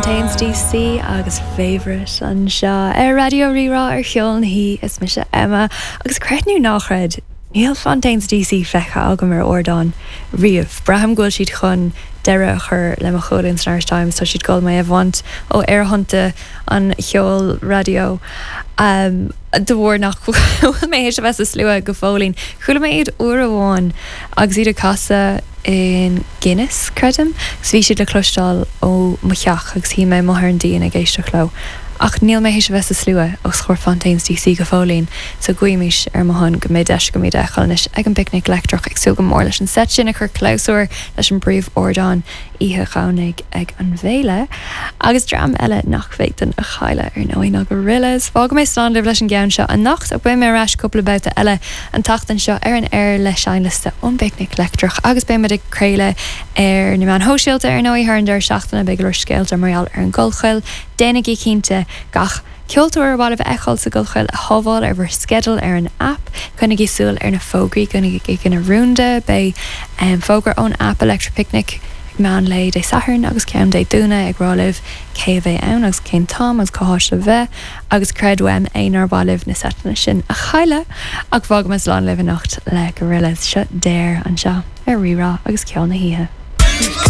Fontaines DC agus Favourite anseo ar Raidió Rí-Rá ar Cheol na hOíche. Is mise Emma agus creid nó ná chreid, níl Fontaines DC feicthe agam ar ardán riamh. Braithim go bhfuil siad chun deireadh a chur le mo cholún san Irish Times, tá siad ag dul mé a bhaint ó aerthonnta an cheoil raidió de bharr nach bhfuil mé théis a bheith sa slua go fóillín. Chuala mé iad uair amháin agus iad ag casadh in Guinness, creidim, agus bhí siad le cloisteáil ó mo theach agus shuigh mé amuigh ar an díon ag éisteacht leo. Ach níl mé théis a bheith sa slua os comhair Fontaines DC go fóillín, so guímis ar mo shon go mbeidh deis agam iad a fheiceáil anois ag an bPicnic Leictreach. Ag súil go mór leis an seit sin ag cur clabhsúr leis an bpríomh-ardán. oíche Dhomhnaigh ag an bhféile. Agus dream eile nach bhféadfainn a chailleadh, ar ndóigh, ná Gorillaz. Fágfaidh mé slán libh leis an gceann seo anocht, ach beidh mé ar ais cúpla babhta eile an tseachtain seo ar an aer le seinnliosta ón bPicnic Leictreach agus beidh muid ag craoladh ar na meáin shóisialta, ar ndóigh, thar an deireadh seachtaine. Beidh go leor scéalta mar gheall ar an gCollchoill. Déanaigí cinnte gach. Ceoltóir ar mhaith libh a fheiceáil sa gCollchoill a shábháil ar bhur sceideal ar an aip. Coinnigí súil ar na fógraí, coinnigí ina rúnda. Beidh fógra ón aip Electric Picnic ag meán lae Dé Sathairn agus ceann Dé Domhnaigh ag rá libh cé a bheidh ann agus cén t-am agus cá háit le bheith agus creid uaim é nár mhaith libh na seiteanna sin a chailleadh! Ach fágfaidh mé slán libh anocht le Gorillaz. Seo Dare anseo ar Rí-Rá agus Ceol na hOíche.